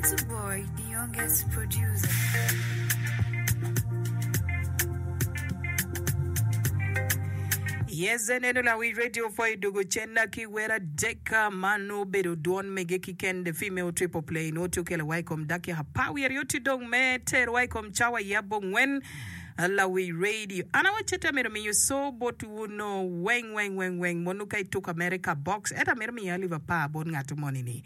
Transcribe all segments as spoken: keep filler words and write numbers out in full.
Bantu Boy, the youngest producer. Yes, en eno lawic radio pwoyo dwogo cenna ki wer adek ma nongo obedo dwon mege kiken the female triple play nongo tye okelo wa i kom dakika apar wiye aryo tye dong me terowa i kom cawa i abongwen lawic radio. An awacce te amito miyo co botwu no weng weng weng weng mono ka ituko America box ento amito miyo alip apar bot ngat moni ni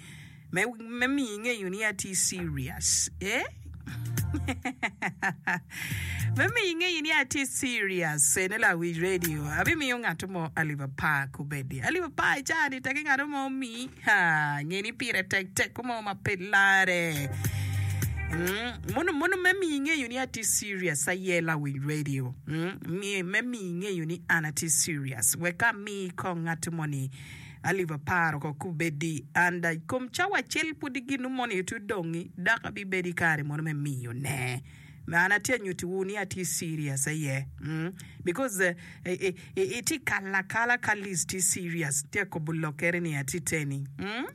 me me miyo ingeyo ni atye serious eh me miyo ingeyo ni atye serious ene lawic radio abimiyo ngat mo alip apar kubedi alip apar i caa ni teke ngat mo omiyi ha nge ni pire tek tek mo ma pe lare Mm, mono mono me miyo ingeyo ni atye serious aye lawic radio mm, me miyo ingeyo ni an atye serious wek ami kong ngat moni alip apar oko kubedi and i kom cawa acel pudi ginu moni tye odongi dok abibedo i kare mono me miyo ne an atye anyutiwu ni atye serious aye mm, because uh, itye kalo akala ka Liz tye serious tye akobo lokere ni atye teni mm?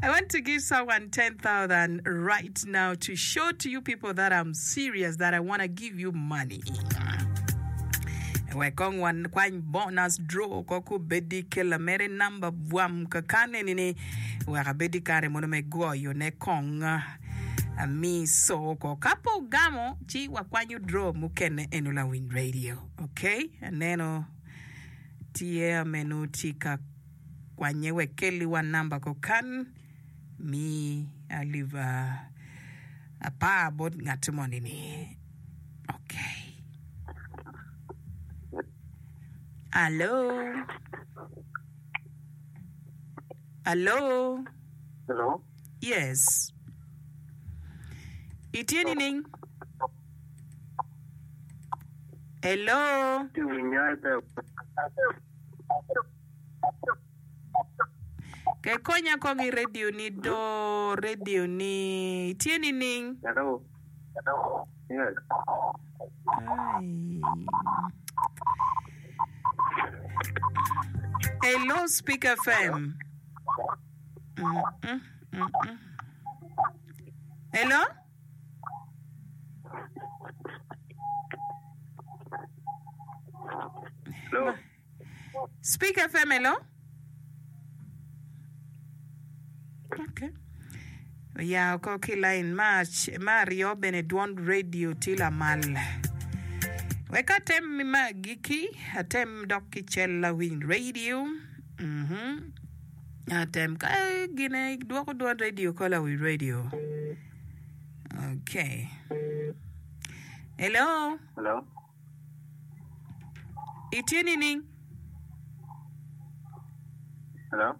I want to give someone ten thousand right now to show to you people that I'm serious, that I want to give you money. Wek kong wan kwany bonus draw ko kubedi kela mere namba bwam kakan eni ni wek abedi kare mono me goyo ne kong ami so ko ka pe ogamo ci wakwanyo draw mukene eno lawiny radio. Okay, aneno tye ameno tye ka kwanye wek kelli wa namba ko kan mi alip apar bot ngat moni ni. Okay. Allo. Allo. Hello. Yes. Itye nining? Hello. Tye winya pe. Ke konya kong i radio ni do radio ni tye nining? Hello. Yes. Ai. Hello Speak F M. Mm -mm, mm -mm. Hello? Hello. Speak F M, hello? Okay. Ya oko ki line ma ma aryo bene dwon radio tye lamal. Wek atem ma agikki, atem dok ki cel lawiny radio. Mhm. Atem ka gine dwoko dwon radio ko lawiny radio. Okay. Hello? Hello. Itye nining? Hello.